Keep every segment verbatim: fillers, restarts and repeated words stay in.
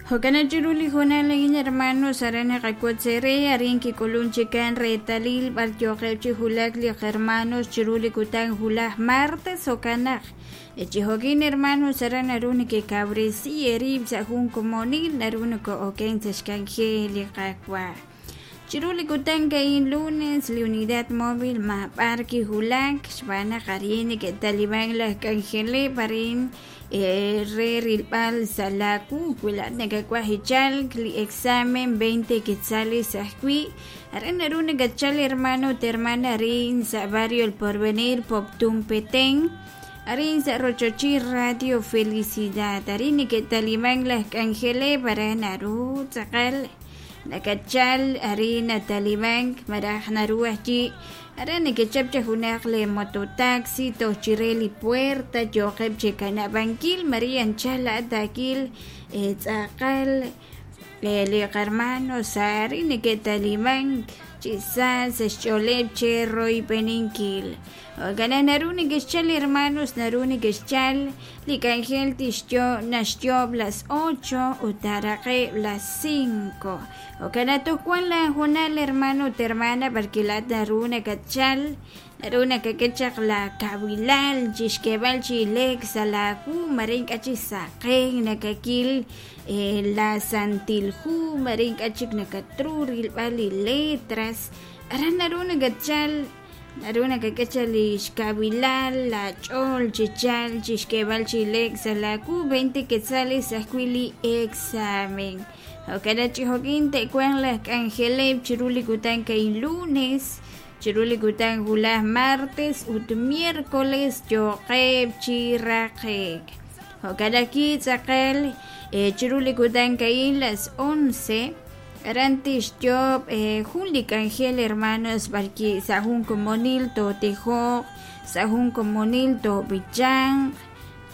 Jo'kan chiru li hoonal a'in hermanos aran naqawotz ere arin kik'ulun chikan reetalil b'ar yooqeb' chi wulak li hermanos chiru li kutan wulaj martes jo'kan naq chi jo'kin hermanos aran naru nekekawresi eerib' sa' jun komonil naru noko'oken sa' xk'anjel li Qaawa'. Chiru li kutan ka'in lunes li unidad móvil mab'ar kiwulak xb'aan naq arin neke'taliban laj k'anjeleb' arin re rilb'al sa' laawu wi laa'at nakawaj ichalk li examen veinte quetzales ajwi' aran naru nakatchal hermano ut hermana arin sa' barrio El Porvenir Poptún Petén arin sa' rochochil Radio Felicidad arin neke'taliban laj k'anjeleb' aran naru tz'aqal nakatchal arin natalibank maraj naru ajwi' aran nekechap cha junaq le mototaxi toj chire li puerta yooqeb' chekanab'ankil Maria anchal laa'at akil tz'aqal li qarmanos arin neke'talibank chi sa' sa' xch'ooleb' che royb'eninkil. Jo'kan naru nekexchal hermanos naru nekexchal li k'anjel tixyo naxyoob' las ocho ut taaraqeb' las cinco. Jo'kan toj wan la hoonal hermano ut hermana b'arki laa'at naru nakatchal naru nakak'e chaq la kawilal chixk'eeb'al chi ileek sa' laawu mare ink'a' chi saqen nakakil la santil hu mare ink'a' chik nakatru rilb'al li letras aran naru nakatchal naru nakak'e chaq li xkawilal la ch'ool chichal chixk'eeb'al chi ileek sa' laawu veinte quetzales ajwi' li examen. Jo'kan chi jo'kin te'wanq laj k'anjeleb' chiru li kutan ka'in lunes chiru li kutan wulaj martes ut miércoles yooqeb' chi raqe'k. Jo'kan aki tz'aqal chiru li kutan ka'in las once aran tixyoob' jun li k'anjel hermanos b'arki sa' jun komonil tootijoq sa' jun komonil toob'ichanq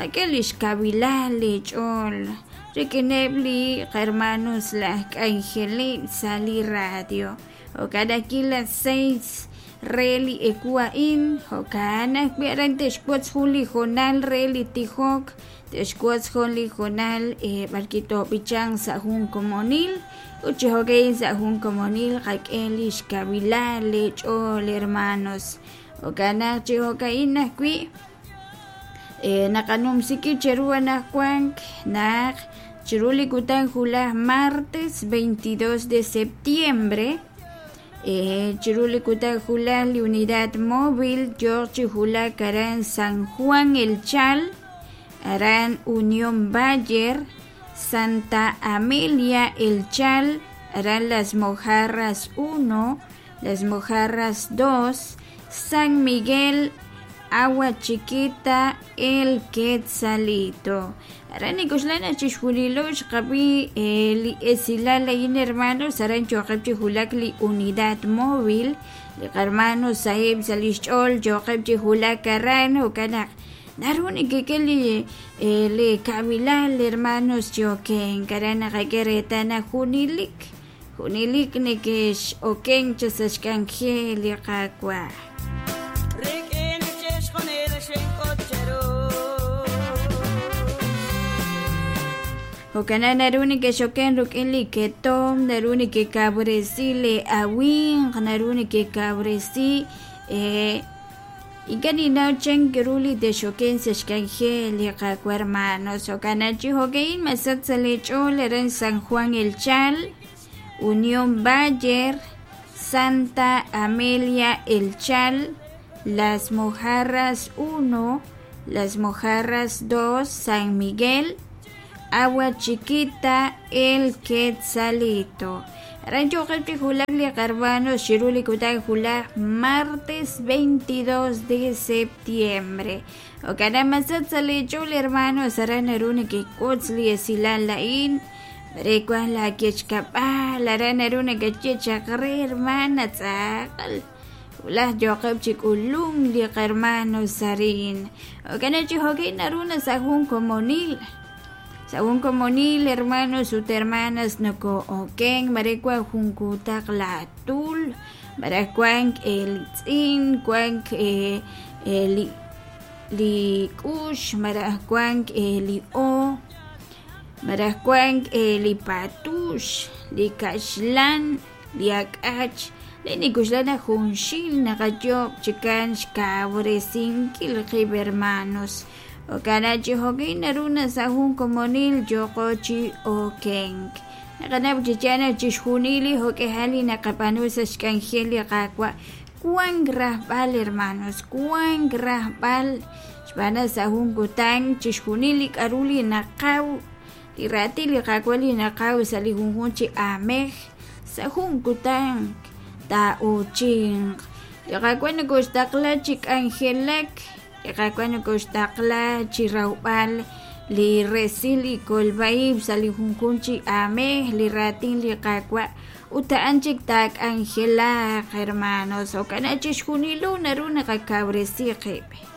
qak'e li xkawilal li ch'ool rik'ineb' li hermanos laj k'anjeleb' sa' li radio. Jo'kan aki las seis re li ewu a'in jo'kan ajwi' aran te'xwotz jun li hoonal re li tijok te'xwotz jun li hoonal b'arki toob'ichanq sa' jun komonil ut chi jo'ka'in sa' jun komonil qak'e li xkawilal li ch'ool hermanos. Jo'kan naq chi jo'ka'in ajwi' naqanumsiki cheru anaqwan naq chiru li kutan wulaj martes veintidós de septiembre chiru li kutan wulaj li unidad móvil yooq chi wulak aran San Juan El Chal aran Unión Bayer Santa Amelia El Chal aran Las Mojarras uno Las Mojarras dos San Miguel Agua Chiquita El Quetzalito. Aran nikuxlana chixjunilo xqab'i li esilal a'in hermanos aran yooqeb' chi wulak li unidad móvil li hermanos sahib' sa' li xch'ool yooqeb' chi wulak aran jo'kan naq naru nekek'e li li kawilal hermanos yo'ken aran naqak'e reetal naq junilik junilik nekex-oken cha sa' xk'anjel li Qaawa'. Jo'kan naru nekexoken rik'in li ketom naru nekekawresi li awinq naru nekekawresi ink'a' ninnaw chan ru li texoken sa' xk'anjel li Qaawa' hermanos. Jo'kan chi jo'ka'in masach sa' li ch'ool aran San Juan El Chal Unión Bayer Santa Amelia El Chal Las Mojarras uno Las Mojarras dos San Miguel Agua Chiquita El Quetzalito. Aran yooqeb' chi wulak li hermanos chiru li kutan wulaj martes veintidós de septiembre. Jo'kan masach sa' li ch'ool hermanos aran naru nekek'utz li esilal a'in mare wan la kechkab'al aran naru nakaye chaq re hermana tz'aqal wulaj yooqeb' chi k'ulum li hermanos arin. Jo'kan chi jo'kin naru na sa' jun komonil sa' jun komonil hermanos ut hermanas noko'oken mare wan jun kutaq la tul mare wan el tz'in wan li li k'ux mare wan li o Malaj wank li patux, li kaxlan, li ak'ach le nikuxla naq junxil naqayoob' chikan xkawresinkil qib' hermanos jo'kan chi jo'kin naru na sa' jun komonil yooqo chi okenk naqanaw chi yaal naq chixjunil li jo'k'ejal li naqab'aanu sa' xk'anjel li Qaawa' wank rajb'al hermanos wank rajb'al xb'aan naq sa' jun kutan chixjunil li k'a'ru li naqaw li raatin li Qaawa' li naqaw sa' li junjunq chi aamej sa' jun kutan taa'uuchinq li Qaawa' nokoxtaqla chi k'anjelak li Qaawa' nokoxtaqla chi rawb'al li resil li kolb'a-ib' sa' li junjunq chi aamej li raatin li Qaawa' ut a'an chik taak'anjelaq hermanos jo'kan chixjunilo naru naqakawresi qib'.